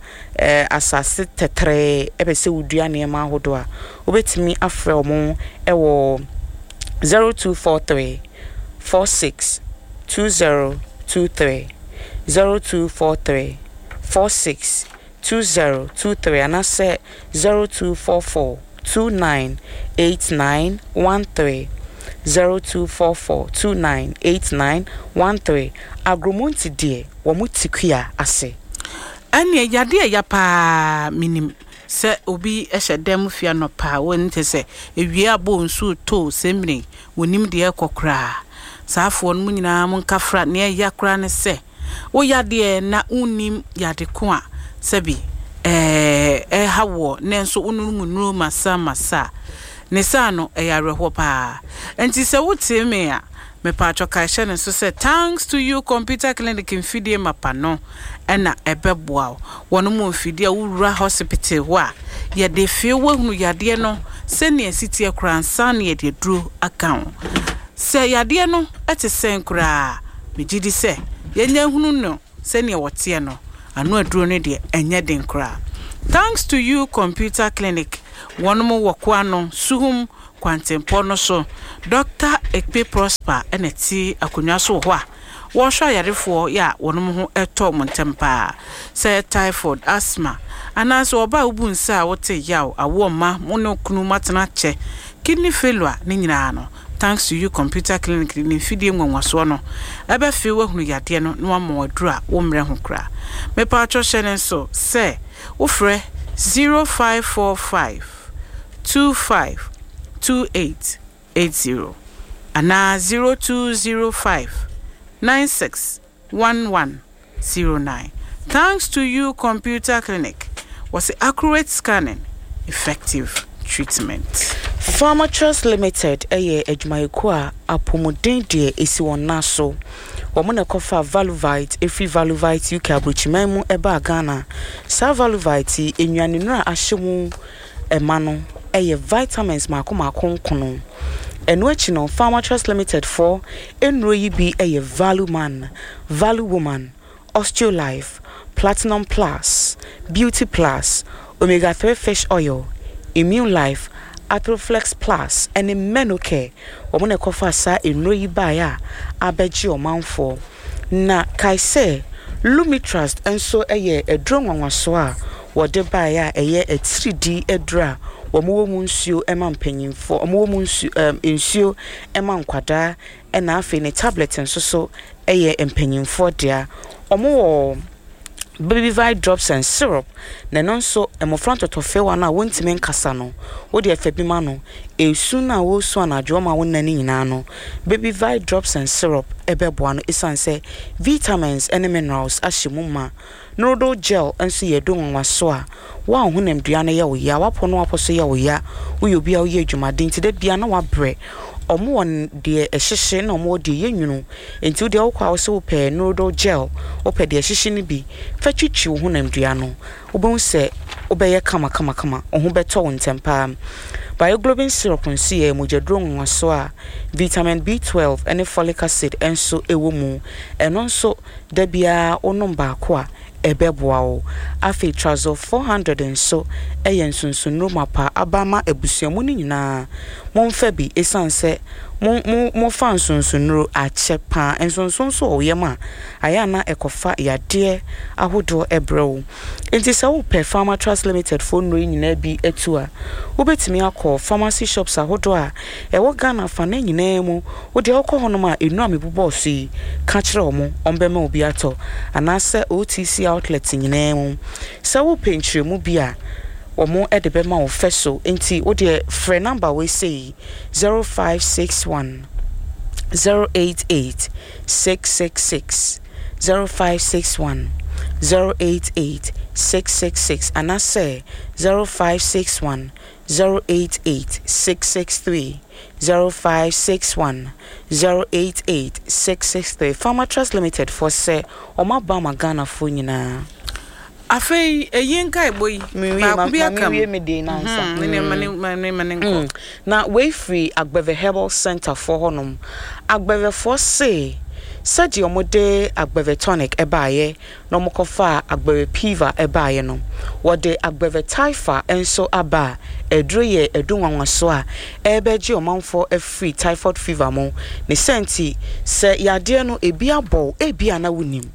S2: asase tɛtrɛɛ pɛ sɛ wodua nneɛma ahodoɔ a, wobɛtumi afrɛ wɔn wɔ 0243 46 2023, 0243 46 2023 anaasɛ 0244 29 8913, 0244 29 8913. Agromonti deɛ, wɔn te kua ase.
S1: Ɛnneɛ yadeɛ a ɛya paa menim sɛ obi hyɛ dan mu firi anɔpa a wɔn kyɛ sɛ awia abɔ nsuo retɔ o sɛmmire wɔnim deɛ ɛrekɔ koraa saa afoɔ no mo nyinaa mo nkafra nea ɛya koraa ne sɛ wo yadeɛ na wonnim yade ko a sɛbi ɛɛ ɛha woɔ nanso wonom nnuro masa masa a ne saa no ɛyɛ awerɛhoɔ paa nti sɛ wotee me a Mepaatwɔ kae hyɛ no nso sɛ Thanks to you Computer Clinic mfidie mapa no na ɛbɛboa wo. Wɔnom wɔ mfidie a wowura hospital hɔ a yɛde fee woahunu yadeɛ no sɛnea ɛsi teɛ koraa ansa na yɛde aduro aka ho. Sɛ yadeɛ no te sɛn koraa a, megye di sɛ yɛnya hunu no sɛnea wɔteɛ no, ano aduro no deɛ ɛnyɛ den koraa. Thanks to you Computer Clinic, wɔnom wɔ Koano, Suhum kwantempɔn no so. Dɔkta Ekpe Prosper na ɛte akonnwa so wɔ hɔ a wɔrehwɛ ayarefoɔ yɛ a wɔn ho tɔ wɔn ntɛm pa ara. Sɛ ɛyɛ typhoid, asthma, anaasɛ ɔbaa a wobu nsa a wote yaw, awoɔ mma, mo ne wo kunu moatena akyɛ, kidney failure, ne nyinaa no, Thanks to You Computer Clinic de ne mfidie nwanwasoɔ no bɛfee wo ahunu yadeɛ no na wama wo aduro a wommrɛ ho koraa. Mepawkyɛw hyɛ no nso sɛ wofrɛ 0545. 25 28 80 anaa 0205 96 11 09. Thanks to you Computer Clinic, wɔse accurate scanning, effective treatment.
S2: Pharmatrust Limited yɛ adwumayɛkuo a apɔmuden deɛ ɛsi wɔn nan so. Wɔn na ɛkɔfaa Valuvite firi Valuvite UK aburokyiman mu baa Ghana. Saa Valuvite yi, nnuanennuro a ahyɛ mu ma no yɛ vitamins mmaako mmaako nkono. Ɛno akyi no, Pharmatrust Limited foɔ nnuro yi bi yɛ Valuman, Valuwoman, Osteolife, Platinum Plus, Beauty Plus, Omega 3 Fish Oil, Immune Life, Arthroflex Plus ne Menocare. Wɔn na ɛkɔfaa saa nnuro yi baeɛ a abɛgye ɔmanfoɔ. Na kae sɛ, Lumitrust nso yɛ aduro nwanwasoɔ a wɔde baeɛ a ɛyɛ atiridii aduro a wɔwɔ mu nsuo ma mpanimfoɔ, wɔwɔ mu nsu, ɛɛm, nsuo ma nkwadaa, ɛna afei ne tablet nso so yɛ mpanimfoɔ dea. Wɔwɔ. Babyvite drops and syrup, na ɛno nso mmɔfra ntɔtɔfewa no a wɔntumi nkasa no, wode ɛfa bi ma no, esu no a wɔresu anadwo ɔma wo nna no nyinaa no, Babyvite drops and syrup ɛbɛboa no esiane sɛ vitamins ne minerals ahyɛ mu ma. Norodol gel nso yɛ aduro nwanwaso a wo a wo honamdua no yɛ wo ya, w'apɔ ne w'apɔ so yɛ wo ya, woyɛ obi a woyɛ adwumaden nti da biara na woabrɛ. Wɔn wɔ deɛ ɛhyehye na wɔn wɔ deɛ ɛyɛ nwunu. Nti wo deɛ wokɔ a wose wopɛ Norodol gel, wopɛ deɛ ɛhyehye no bi, fa twitwi wo honamdua no. Wobɛhu sɛ wobɛyɛ kamakamakama, wo ho bɛtɔ wo ntɛm pa ara. Bioglobin syrup nso yɛ mogyaduro nwanwaso a vitamin B12 ne folic acid nso wɔ mu. Ɛno nso da biara wonom baako a, ɛbɛboa wo. Afei Trazol 400 nso yɛ nsonsonnuro mapa aba ma abusua mu no nyinaa. Momfa bi esiane sɛ mo mo mofa nsonsonnuro akyɛ paa. Nsonson nso wɔ wo yam a, ayɛ a na ɛkɔfa yadeɛ ahodoɔ brɛ wo. Enti sɛ wopɛ Pharmatrust Limited foɔ nnuro yi nyinaa bi atu a, wobɛtumi akɔ pharmacy shops ahodoɔ a ɛwɔ Ghana afanaa nyinaa mu. Wo deɛ wokɔ hɔnom a, nnuro a mebobɔɔ so yi, ka kyerɛ wɔn, wɔbɛma wo bi atɔ. Anaasɛ OTC outlets nyinaa mu. Sɛ wopɛ nkyerɛmu bi a, wɔde bɛma wo fɛ so. Enti wo deɛ frɛ number wei sei, 0561 088 666, 0561 088 666 anaasɛ 0561 088 663, 0561 088 663. Pharmatrust Limited foɔ sɛ wɔn aba ama Ghanafoɔ nyinaa.
S1: Afei eyi nkaebɔ yi, baako bi aka mu.
S2: Menwie me deɛ no ansa.
S1: Ma ne nkɔ.
S2: Na wei firi Agbeve Herbal Centre foɔ hɔ nom. Agbeve foɔ se sɛdeɛ wɔn de Agbeve tonic baeɛ na wɔn kɔ faa Agbeve Piva baeɛ no, wɔde Agbeve Typha nso aba a aduro yɛ adu nwanwasoɔ a ɛrebɛgye ɔmanfoɔ afiri typhoid fever mu. Ne saa nti sɛ yadeɛ no ebi abɔ wo ebia na wonim.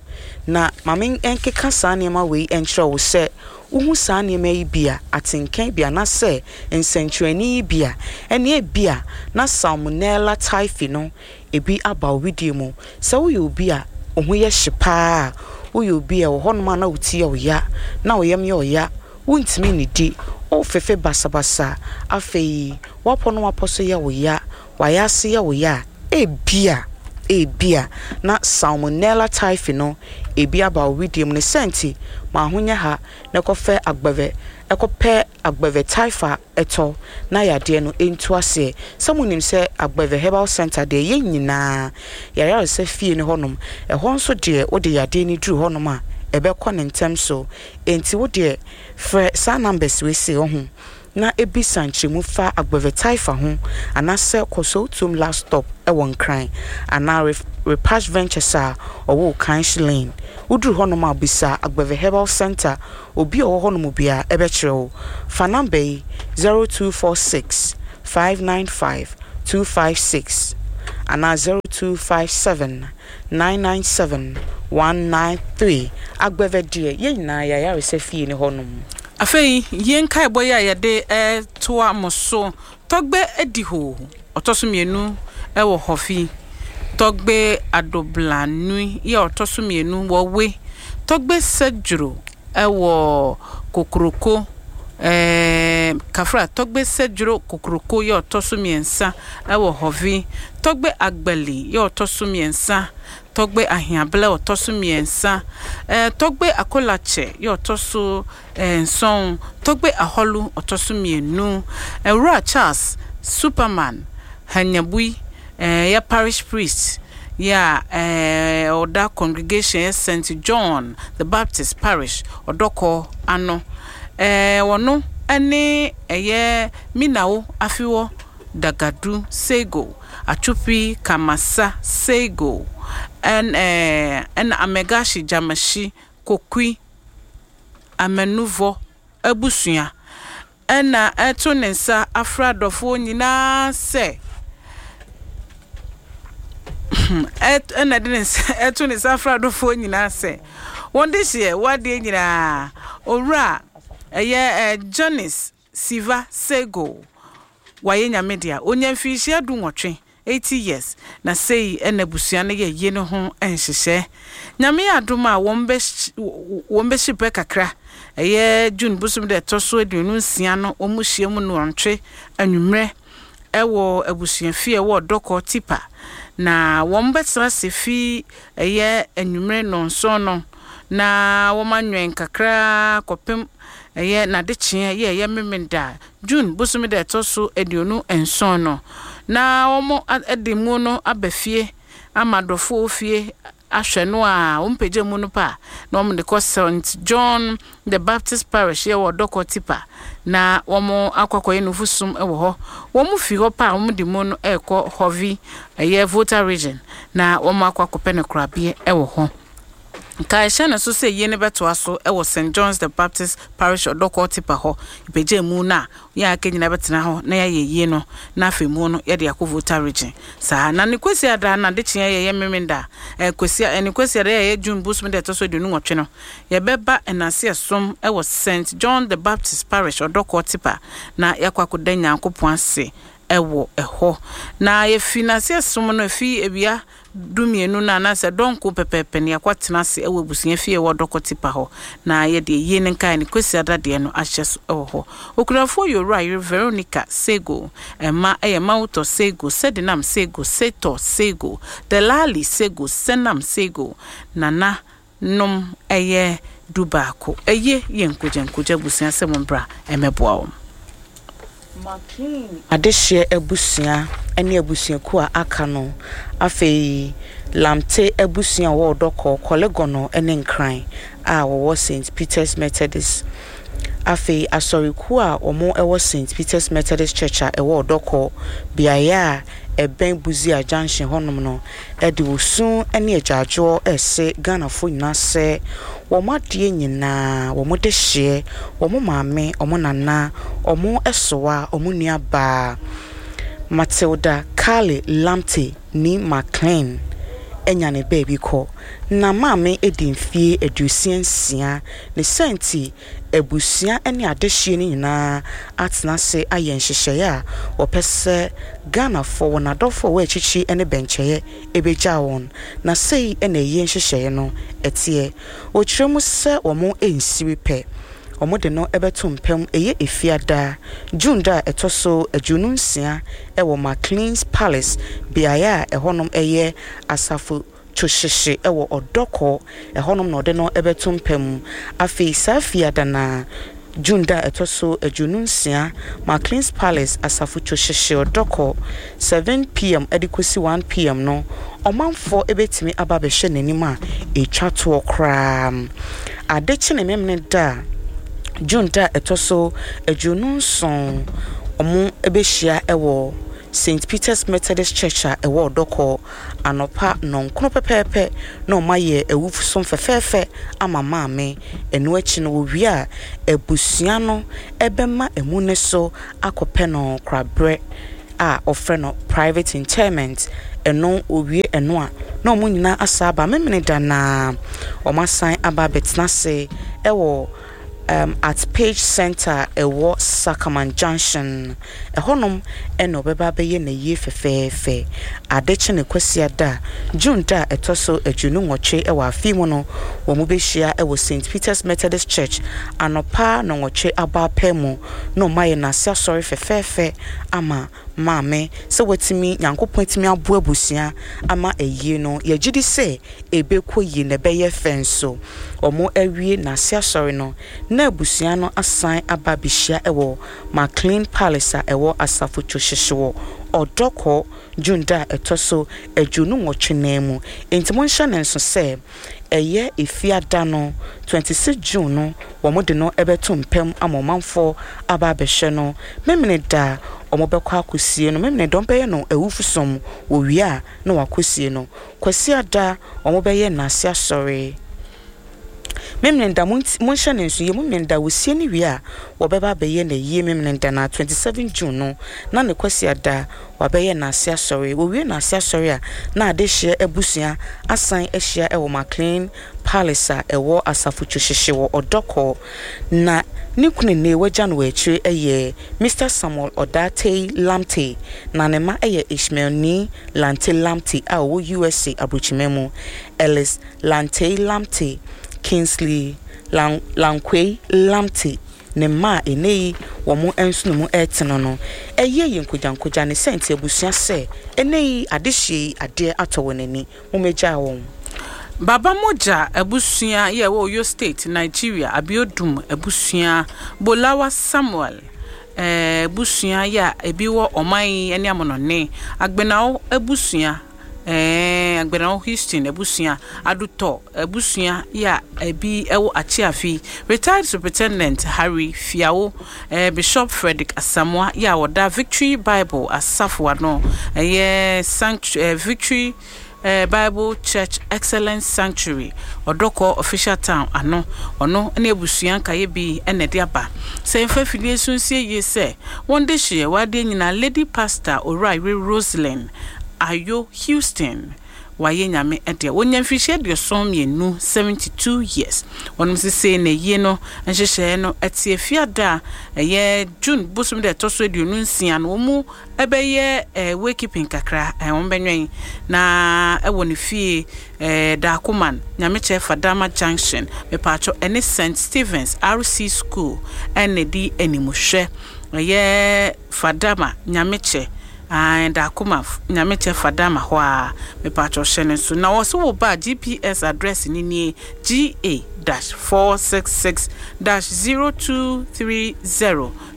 S2: Na ma me nkeka saa nneɛma wei nkyerɛ wo, sɛ wuhu saa nneɛma yi bi a, atenka yi bi anaasɛ nsɛnkyerɛnne yi bi a, ɛnneɛ ebia na Salmonella typhi no ebi aba wo wedeɛ mu. Sɛ woyɛ obi a wo ho yɛ hye pa ara a, woyɛ obi a ɛwɔ hɔnom a na wo ti yɛ wo ya, na wo yam yɛ wo ya, wontumi nnidi, wofefe basabasa, afei w'apɔ ne w'apɔ so yɛ wo ya, w'ayase yɛ wo ya a, ebia, ebia na Salmonella typhi no ebi aba wo wedeɛ mu. Ne saa nti, ma ho nyɛ ha na kɔfɛ agbɛvɛ, kɔpɛ agbɛvɛ typha tɔ na yadeɛ no ntu aseɛ. Sɛ monim sɛ Agbɛvɛ Herbal Centre deɛ yɛn nyinaa yɛayaresa fie ne hɔnom. Ɛhɔ nso deɛ wode yadeɛ no duru hɔnom a, ɛbɛkɔ ne ntɛm so. Enti wo deɛ frɛ saa numbers wei sei, wahu. na bisa nkyerɛmu fa Agbeve Taifa ho anaasɛ kɔ Sowutuom Last Stop wɔ Nkran anaa Repash Ventures a ɔwɔ Okainsh Lane. Woduru hɔnom a bisa Agbeve Herbal Centre, obi a ɔwɔ hɔnom biara bɛkyerɛ wo. Fa number yi, 0246 595 256 anaa 0257 997 193. Agbeve deɛ, yɛn nyinaa yɛn ayaresa fie ne hɔnom.
S1: Afei yei nkaebɔ yi a yɛde toa mo so, Tɔgbe adi hoo, ɔtɔ so mmienu wɔ Hɔfi, Tɔgbe Adoblanui yɛ ɔtɔ so mmienu wɔ We, Tɔgbe Sɛdwuro wɔ Kokroko, Kafra, Tɔgbe Sɛdwuro Kokroko yɛ ɔtɔ so mmiɛnsa wɔ Hɔvi, Tɔgbe Agbali yɛ ɔtɔ so mmiɛnsa Tɔgbe Aheablɛ ɔtɔ so mmiɛnsa, Tɔgbe Akolakyɛ yɛ ɔtɔ so nson, Tɔgbe Ahɔlu ɔtɔ so mmienu, Awura Charles Superman Hanyabui yɛ Parish Priest yɛ a ɔda Congregation yɛ Saint John the Baptist Parish Ɔdɔkɔ ano. Ɔno ne ɛyɛ Minawo Afewɔ Dagadu Seigo. Atwupi, Kamasa, Seigo, ɛna Amegashi, Gyamashi, Kokui, Amanuvɔ abusua ɛna ɛto ne nsa afrɛ adɔfoɔ nyinaa sɛ ɛna ɛde ne nsa ɛto ne nsa afrɛ adɔfoɔ nyinaa sɛ wɔn de hyeɛ wɔadeɛ nyinaa owura ɛyɛ Janice Siva Seigo. Wayɛ Nyame dea. Onya mfirihyia dunwɔtwe. 80 years, na sei na abusua no yɛ yie no ho nhyehyɛɛ. Nyame yɛ adom a wɔn bɛ wɔn bɛhye pɛ kakra, ɛyɛ June bosom da ɛtɔ so 26 no wɔn hyia mu nnɔntwe anwummerɛ ɛwɔ abusuafie a ɛwɔ Ɔdɔkɔ Tipa, na wɔn bɛtena ase fi ɛyɛ anwummerɛ nnɔnson no na wɔn anwɛn kakra kɔpem ɛyɛ n'adekyeɛ yɛ ɛyɛ Memenda June bosome da ɛtɔ so 27 no, na wɔde mu no aba fie ama adɔfoɔ fie ahwɛ no a, wɔpagya mu no pɛ a, na wɔde kɔ St. John the Baptist Parish yɛ wɔ Ɔdɔkɔ Tipa, na wɔakɔ akɔyɛ nufusom wɔ hɔ. Wɔfi hɔ pɛ a, wɔde mu no rekɔ Hovi, ɛyɛ Volta Region, na wɔakɔ akɔpɛ no korabeɛ wɔ hɔ. Nkae hyɛ no so sɛ ayie no bɛtoa so wɔ St. John's the Baptist Parish Ɔdɔkɔɔ Tipa hɔ. Yɛpagya mu no a, yɛn a aka nyinaa bɛtena hɔ na yɛayɛ ayie no, na afei mu no yɛde akɔ Volta Region. Saa na ne Kwasiada no adekyeɛ yɛyɛ Memenda, eh, Kwasia, eh, ne Kwasiada yɛyɛ June bosome da ɛtɔ so 28 no, yɛbɛba Nnaseɛ som wɔ St. John the Baptist Parish Ɔdɔkɔɔ Tipa na yɛakɔ akɔda Nyankopɔn ase wɔ hɔ. Na yɛfi Nnaseɛ som no, ɛfi awia dumienu no anaasɛ dɔnko pɛpɛɛpɛ no, yɛakɔtena ase wɔ abusua fie a ɛwɔ Dɔkɔ Tipa hɔ, na yɛde ayie no nkaeɛ no Kwasiada deɛ no ahyɛ so wɔ hɔ. Okunafoɔ yɛ Owura yere Veronica Sego. Mma yɛ Mawutɔ Sego, Sedinam Sego, Setɔ Sego, Delali Sego, Senam Sego, Nana nom yɛ dubaako. Eye yɛ nkogyankogya abusua sɛ mombra mmɛboa wɔn.
S2: McLean adehyeɛ abusua ne abusuakuo a aka no, afei Lamte abusua a wɔwɔ Ɔdɔkɔ, Korle-Gonno ne Nkran a wɔwɔ St. Peter's Methodist, afei asɔrekuo a wɔwɔ St. Peter's Methodist Church a ɛwɔ Ɔdɔkɔ, beaeɛ a ɛbɛn Busia Junction hɔnom no de osu ne agyaadwoɔ rese Ghanafoɔ nyinaa sɛ wɔn adeɛ nyinaa, wɔn dehyeɛ, wɔn maame, wɔn nana, wɔn soa, wɔn nua baa Matilda Carly Lamptey nee McLean anya ne baabi kɔ. Na maame adi mfeɛ 66, ne saa nti abusua ne adehyeɛ no nyinaa atena ase ayɛ nhyehyɛeɛ a wɔpɛ sɛ Ghanafoɔ, wɔn adɔfoɔ a wɔwɔ akyirikyiri ne bɛnkyɛeɛ bɛgyaa wɔn. Na sei na ayie nhyehyɛeɛ no teɛ. Wɔkyerɛ mu sɛ wɔn nsiri pɛ, wɔde no bɛto mpam ɛyɛ Efiada, June da a ɛtɔ so 26 wɔ Maclean's Palace, beaeɛ a ɛhɔnom yɛ asafo to hyehye wɔ ɔdɔkɔ, ɛhɔnom na ɔde no bɛto mpa mu. Afei saa Fiada no ara, June da a ɛtɔ so 26, Maclean's Palace Asafo to hyehye ɔdɔkɔ, 7 PM de kɔsi 1 PM no, ɔmanfoɔ bɛtumi aba abɛhwɛ n'anim a ɛtwa toɔ koraa. Ade kye ne Memeneda a, June da a ɛtɔ so 27, wɔbɛhyia wɔ St. Peter's Methodist Church a ɛwɔ Ɔdɔkɔ, Anɔpa nnɔnkron pɛpɛɛpɛ na wɔayɛ awufosom fɛfɛɛfɛ ama Maame. Ɛno akyi no, wɔwie a, abusua no bɛma amu no so akɔpɛ no koraberɛ a wɔfrɛ no private interment. Ɛno, wɔwie ɛno a, na wɔn nyinaa asan aba Memeneda no ara, wɔasan aba abɛtena ase wɔ um, at Page Center a ɛwɔ Sakaman Junction. Ɛhɔnom na ɔbɛba abɛyɛ n'ayie fɛfɛɛfɛ. Ade kye no Kwasiada, June da a ɛtɔ so 28 wɔ afe yi mu no, wɔbɛhyia wɔ St. Peter's Methodist Church anɔpa nnɔnwɔtwe abɔ apaa mu na wɔayɛ n'ase asɔre fɛfɛɛfɛ ama Maame sɛ watumi, Nyankopɔn atumi aboa abusua ama ayie no. Yɛgye di sɛ ɛbɛkɔ yie na ɛbɛyɛ fɛ nso. Wɔawie n'ase asɔre no, na abusua no asan aba abɛhyia wɔ McLean Palace a ɛwɔ Asafo Kyohyehye wɔ Ɔdɔkɔ, June da a ɛtɔ so 28 no ara mu. Enti monhyɛ no nso sɛ ɛyɛ Efiada no, 26 June no, wɔde no bɛto mpa mu ama ɔmanfoɔ aba abɛhwɛ no. Memeneda a wɔbɛkɔ akɔsie no, Memeneda wɔbɛyɛ no awufosom, wɔwie a na wɔakɔsie no. Kwasiada wɔbɛyɛ Nnaase Asɔre. Memeneda, monhyɛ no nso yie, Memeneda wɔsie no wie a, wɔbɛba abɛyɛ no ayie Memeneda no ara, 27 June no, na ne Kwasiada wɔabɛyɛ Nnaase Asɔre. Wɔwie Nnaase Asɔre a, na adehyeɛ abusua asan ahyia wɔ McLean Palace a ɛwɔ Asafo Kyohyehye wɔ Ɔdɔkɔ. Na Ne kunu nnɛ wagya no wɔ akyire yɛ Mister Samuel Odartey Lamptey na ne mma yɛ Ishmael Nii Lante Lamptey a ɔwɔ USA aburokyima mu, Ellis Lantey Lamptey, Kingsley Lan Lankwei Lamptey ne mma a ɛnnɛ yi wɔn nsono mu retene no. Ɛyɛ yɛn nkogyankogya ne sɛ nti abusua sɛ ɛnnɛ yi adehyeɛ yi adeɛ atɔ wɔn ani. Mommɛgyaa wɔn.
S1: Baba Mogya abusua yɛ ɛwɔ Oyo State, Nigeria, Abiodun abusua, Bolawa Samuel abusua yɛ a ebi wɔ ɔman yi ne amonɔne, Agbenao abusua, Agbenao Houston abusua, Adutɔ abusua yɛ a ebi wɔ Akyeafi, Retired Superintendent Harry Fiawo, Bishop Fredrick Asamoah yɛ a ɔda Victory Bible Asafo ano, ɛyɛ Sanctuary, Victory Bible Church Excellence Sanctuary, Ɔdɔkɔ Official Town ano. Ɔno ne abusua nkaeɛ bi na ɛde aba. Sɛ yɛmfa afidie so nsie yie sɛ wɔn dehyeɛ wɔ adeɛ nyinaa Lady Pastor Owura-Yere Roselyn Ayo Houston Wayɛ Nyame dea. Wɔnya mfirihyia 72, 72 years. Wɔnom sesei na ayie no nhyehyɛeɛ no te Fiada a ɛyɛ June bosome da ɛtɔ so 26 no wɔn bɛyɛ wakekeeping kakra, wɔn bɛnwɛn na ɛwɔ ne fie Dakoman, Nyamekyɛ Fadama Junction, mepaakyɛw ɛne St. Stephen's RC School ɛna ɛdi animhwɛ. Ɛyɛ Fadama, Nyamekyɛ. Ae Dakoma Nyamekyɛ Fadama hɔ aa mepakyɛw hyɛ no nso na wɔse wo ba a GPS address no nie GA dash 466 dash 0230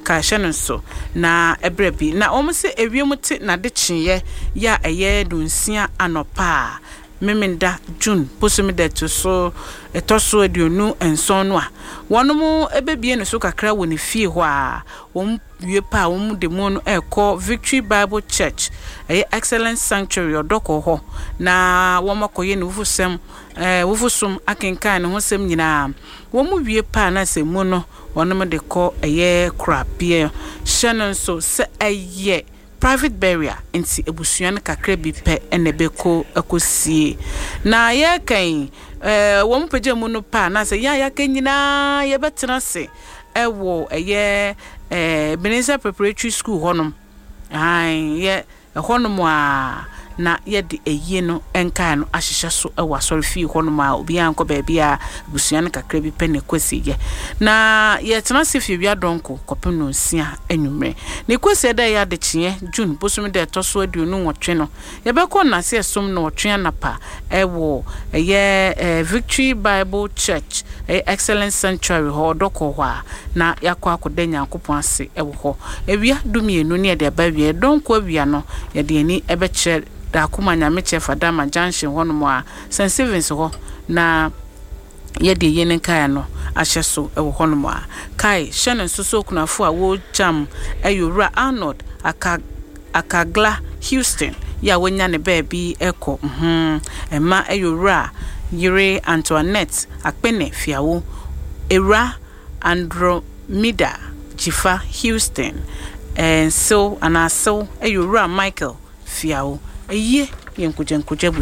S1: kae hyɛ no nso na ɛbrɛ bi na wɔn se ewiem te nadekyeeɛ yɛ a ɛyɛ nonsia anɔpa a Memenda, June, bosome da ɛto so ɛtɔ so 27 no a wɔnom bɛbie ne so kakra wɔ ne fie hɔ a wɔn wie pɛ a wɔn de mu no rekɔ Victory Bible Church, ɛyɛ Excellence Sanctuary, Ɔdɔkɔ hɔ, na wɔn akɔyɛ ne wufusɛm, ɛɛ wufusom akenkan ne ho sɛm nyinaa. Wɔn wie pɛ a na sɛ mu no wɔnom de kɔ ɛyɛ korabea. Hyɛ no nso sɛ ɛyɛ private burial nti abusua no kakra bi pɛ na ɛbɛkɔ akɔsie. Na yɛreka yi, ɛɛ wɔn pagya mu no pɛ a na sɛ yɛn a yɛaka nyinaa yɛbɛtena ase wɔ ɛyɛ Ebenezer Preparatory School hɔnom. Aane, yɛ ɛhɔnom ara na yɛde ayie no nkaeɛ no ahyehyɛ so wɔ asɔrefie hɔnom a obiara nkɔ baabiara, abusua no kakra bi pɛ na ɛkɔ asieeɛ. Na yɛtena ase fi awia dɔnko kɔpem nnɔnsia anwummerɛ. Ne Kwasiada a ɛyɛ adekyeeɛ, June bosome da a ɛtɔ so 28 no, Yɛbɛkɔ nnase ɛsom nnɔɔtwe anapa wɔ ɛyɛ Victory Bible Church, ɛyɛ Excellence Sanctuary hɔ, Ɔdɔkɔ hɔ a, na yɛakɔ akɔda Nyankopɔn ase wɔ hɔ. Awia dumienu ne yɛde aba awieɛ. Dɔnko awia no, yɛde yɛn ani bɛkyerɛ Daakoma Nyamekyɛ Fadama Junction hɔnom a, St. Stephen's hɔ na yɛde yɛn nkaeɛ no ahyɛ so wɔ hɔnom a. Kae, hyɛ no nso sɛ okunafo a wɔregyam yɛ Owura Arnold Aka Akagla Houston yi a wanya ne baabi kɔ ho. Mma yɛ Owura yere Antoinette Akpene Fiawo, Ewura Andromeda Dzifa Houston, Nsew anaa Sew yɛ Owura Michael Fiawo. Ayie yɛ nkogyankogya abusua.